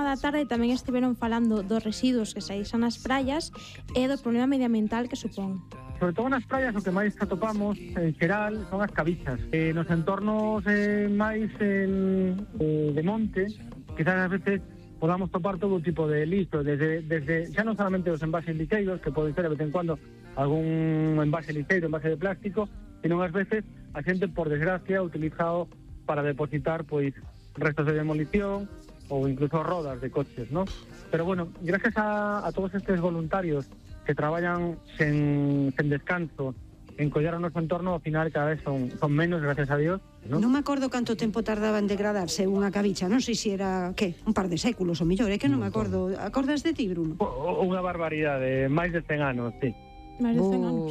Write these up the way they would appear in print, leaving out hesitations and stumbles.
programa da tarde tamén estiveron falando dos residuos que saísan nas praias e do problema medioambiental que supón. Sobre todo nas praias o que máis atopamos en xeral son as cabichas. Nos entornos máis de monte, quizás ás veces podamos topar todo tipo de lixo, desde xa non solamente os envases lixeiros, que poden ser de vez en cuando algún envase lixeiro, envase de plástico, sino ás veces a xente, por desgracia, utilizado para depositar pois restos de demolición ou incluso rodas de coches, ¿no? Pero bueno, gracias a todos estes voluntarios que traballan sen descanso en collar o noso entorno, ao final cada vez son menos, gracias a Dios, ¿no? Non me acordo canto tempo tardaba en degradarse unha cabicha, non sei se era, que, un par de séculos ou mellor, é que non me acordo. Acordas de ti, Bruno? Unha barbaridade, máis de 100 anos, sí. Máis de 100 anos.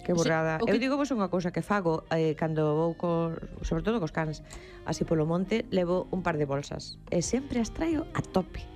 Que borrada. Eu digo vos unha cousa que fago cando vou sobre todo cos cans así polo monte, levo un par de bolsas e sempre as traio a tope.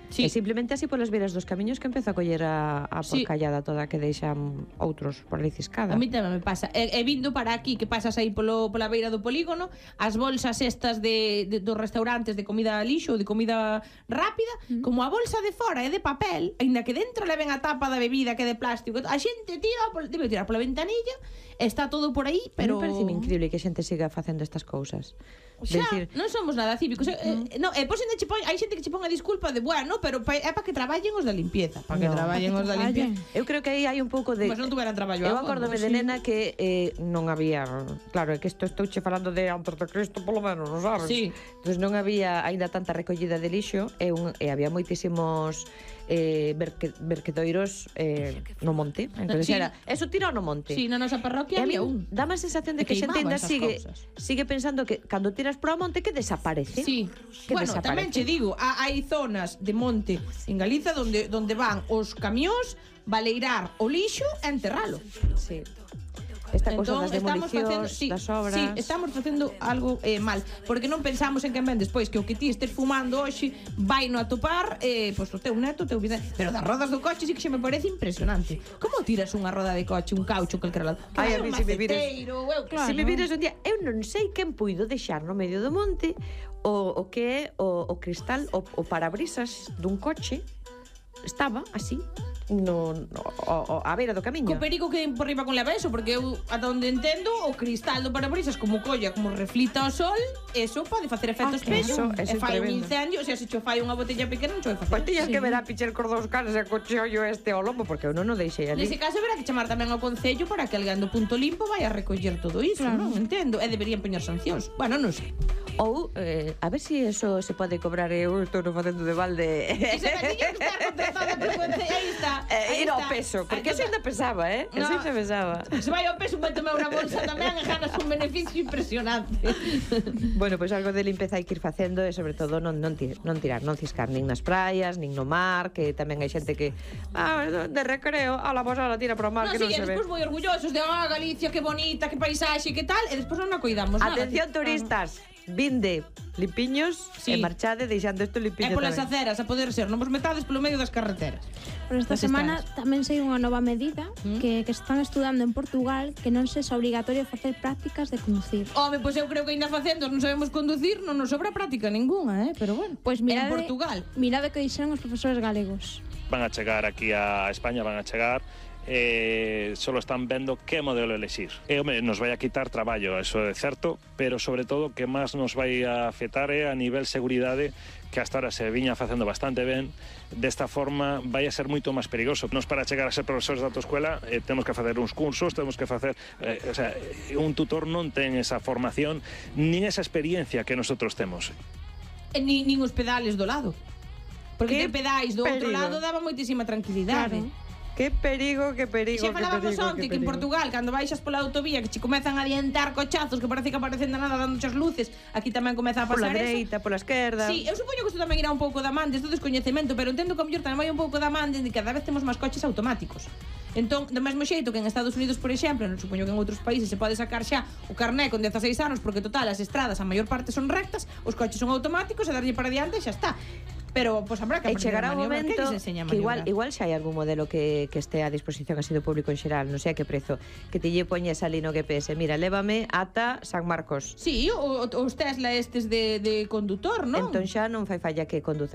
Sí. E simplemente así polas beiras dos camiños que empezo a coller a porcallada toda que deixan outros por ali ciscada. A mí tamén me pasa. E vindo para aquí, que pasas aí pola beira do polígono, as bolsas estas dos restaurantes de comida lixo, de comida rápida, como a bolsa de fora é de papel, aínda que dentro leven a tapa da bebida que é de plástico, a xente debe tirar pola ventanilla, está todo por aí, pero... Me parece increíble que a xente siga facendo estas cousas. Xa, non somos nada cívicos. Hai xente que che pon a disculpa de, bueno, pero é para que traballen os da limpieza. Para que traballen os da limpieza. Eu creo que aí hai un pouco de... Mas non tuveran traballo. Eu acórdome de nena que non había... Claro, é que estou che falando de antes de Cristo, polo menos, non sabes? Sí. Entón non había aínda tanta recollida de lixo e había moitísimos verquedoiros no monte. Entón era, eso tira no monte. Sí, na nosa parroquia había un. Dá má sensación de que a xente ainda sigue pensando que cando tiras pro monte que desaparece. Sí. Bueno, tamén che digo, hai zonas de monte en Galiza donde van os camións baleirar o lixo e enterralo. Sí. Esta cousa das demolicións, das obras... Sí, estamos facendo algo mal, porque non pensamos en que ven despois que o que ti estés fumando hoxe vai no atopar pois o teu neto, o teu vida. Pero das rodas do coche sí que xe me parece impresionante. Como tiras unha roda de coche, un caucho, calquera lado? Ai, a mí se me vires un día, eu non sei quen puido deixar no medio do monte o que é o cristal, o parabrisas dun coche, estaba así a beira do camiño. Co perigo que por riba con leva eso, porque eu ata onde entendo o cristal do parabrisas como colla, como reflita o sol, eso pode facer efectos peso, e fai un incendio, o sea, se cho fai unha botella pequena non cho vai facer. Pois tiñas que ver a pichar cor dos caras e coche ollo este ao lombo, porque eu non o deixei ali. Nese caso verá que chamar tamén ao concello para que alguén do punto limpo vai a recoller todo iso, non entendo, e deberían poñer sancións. Bueno, non sei. Ou, a ver se eso se pode cobrar, eu estou non facendo de balde. E se me tiña que estar contratada por concello, aí está. Ir ao peso, porque eso ainda pesaba, Eso ainda pesaba. Se vai ao peso, vai tomar unha bolsa tamén e ganas un beneficio impresionante. Bueno, pois algo de limpeza hai que ir facendo e sobre todo non tirar, non ciscar nin nas praias, nin no mar, que tamén hai xente que de recreo, a la posada tira pro mar que non se ve. E despois moi orgullosos de Galicia, que bonita, que paisaxe, que tal, e despois non a coidamos nada. Atención turistas, vinde limpiños e marchade deixando isto limpiño tamén. E polas aceras, a poder ser, non vos metades polo medio das carreteras. Pero esta semana tamén sei unha nova medida que están estudando en Portugal, que non se é obrigatorio facer prácticas de conducir. Home, pois eu creo que ainda facendo non sabemos conducir, non nos sobra práctica ninguna, pero bueno. Pois en Portugal. Mirade que dixeron os profesores galegos. Van a chegar aquí a España, solo están vendo que modelo elexir. Nos vai a quitar traballo, eso é certo, pero sobre todo que máis nos vai a afectar é a nivel seguridade, que hasta ahora se viña facendo bastante ben. Desta forma vai a ser moito máis perigoso. Nos para chegar a ser profesores da autoescola temos que facer uns cursos, temos que facer un tutor non ten esa formación nin esa experiencia que nosotros temos. Nin os pedales do lado. Porque te pedáis do outro lado daba moitísima tranquilidade. Que perigo. Xa falábamos onte que en Portugal, cando baixas pola autovía, que che comezan a adiantar cochazos que parece que aparecen de nada dando as luces, aquí tamén comeza a pasar pola dereita, pola esquerda. Sí, eu supoño que isto tamén irá un pouco da man, do descoñecemento, pero entendo que a mellor tamén vai un pouco da man de que cada vez temos máis coches automáticos. Entón, do mesmo xeito que en Estados Unidos, por exemplo, non supoño que en outros países se pode sacar xa o carné con 16 anos, porque total, as estradas a maior parte son rectas, os coches son automáticos e darlle para diante e xa está. Pero, pois, habrá que aprender chegará un momento que igual xa hai algún modelo que este a disposición así do público en xeral, non sei a que prezo, que te lle poñes ali no GPS, mira, lévame ata San Marcos. Sí, os Tesla estes de condutor, non? Entón xa non fai falla que conduza